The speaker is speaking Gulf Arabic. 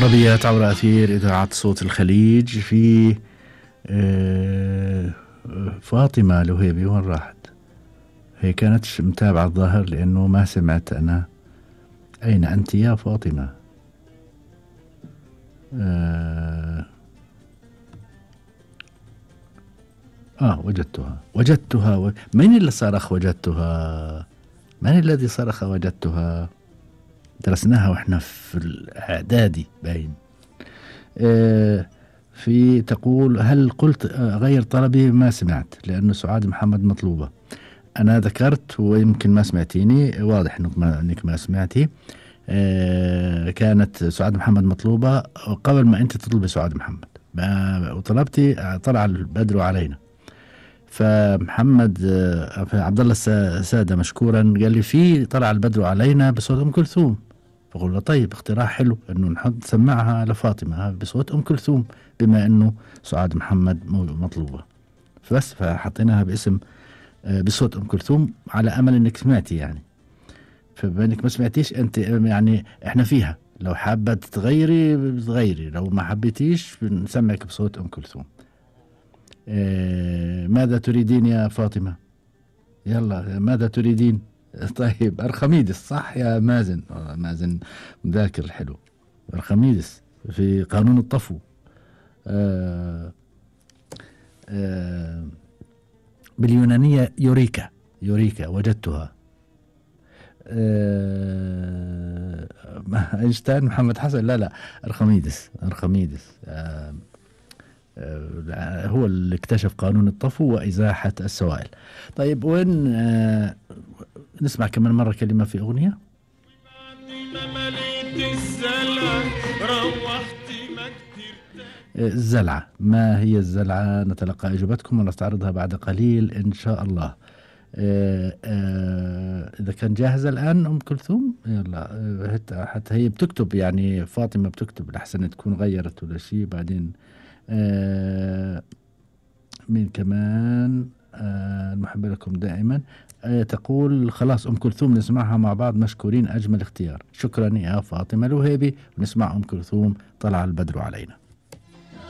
طربيات عبر أثير إذاعة صوت الخليج. في فاطمة الوهيبي وين راحت؟ هي كانت متابعة الظاهر لأنه ما سمعت أنا. أين أنت يا فاطمة؟ وجدتها. من اللي صرخ وجدتها؟ من الذي صرخ وجدتها؟ درسناها واحنا في الإعدادي باين. في تقول هل قلت غير طلبي؟ ما سمعت لأنه سعاد محمد مطلوبة. أنا ذكرت ويمكن ما سمعتيني، واضح إنك ما سمعتي. كانت سعاد محمد مطلوبة قبل ما أنت تطلبي سعاد محمد وطلبتي طلع البدر علينا. فمحمد عبد الله سادة مشكورا قال لي في طلع البدر علينا بصوت أم كلثوم. فقول له طيب اقتراح حلو انه نحط نسمعها لفاطمة بصوت ام كلثوم بما انه سعاد محمد مطلوبة. بس فحطيناها باسم بصوت ام كلثوم على امل انك سمعتي يعني. فبما انك ما سمعتيش انت يعني احنا فيها، لو حابة تغيري بتغيري، لو ما حبيتيش بنسمعك بصوت ام كلثوم. ماذا تريدين يا فاطمة؟ يلا ماذا تريدين؟ طيب أرخميدس صح يا مازن؟ مازن مذاكر حلو. أرخميدس في قانون الطفو. باليونانية يوريكا وجدتها. أينشتاين محمد حسن لا أرخميدس هو اللي اكتشف قانون الطفو وإزاحة السوائل. طيب وين نسمع كمان مرة كلمة في أغنية. الزلعة، ما هي الزلعة؟ نتلقى إجابتكم ونستعرضها بعد قليل إن شاء الله. إذا كان جاهزة الآن أم كلثوم يلا. حتى هي بتكتب يعني فاطمة بتكتب لحسن تكون غيرت ولا شيء بعدين. مين كمان؟ المحب لكم دائما. تقول خلاص أم كلثوم نسمعها مع بعض، مشكورين، أجمل اختيار. شكرا يا فاطمة الوهيبي. ونسمع أم كلثوم طلع البدر علينا.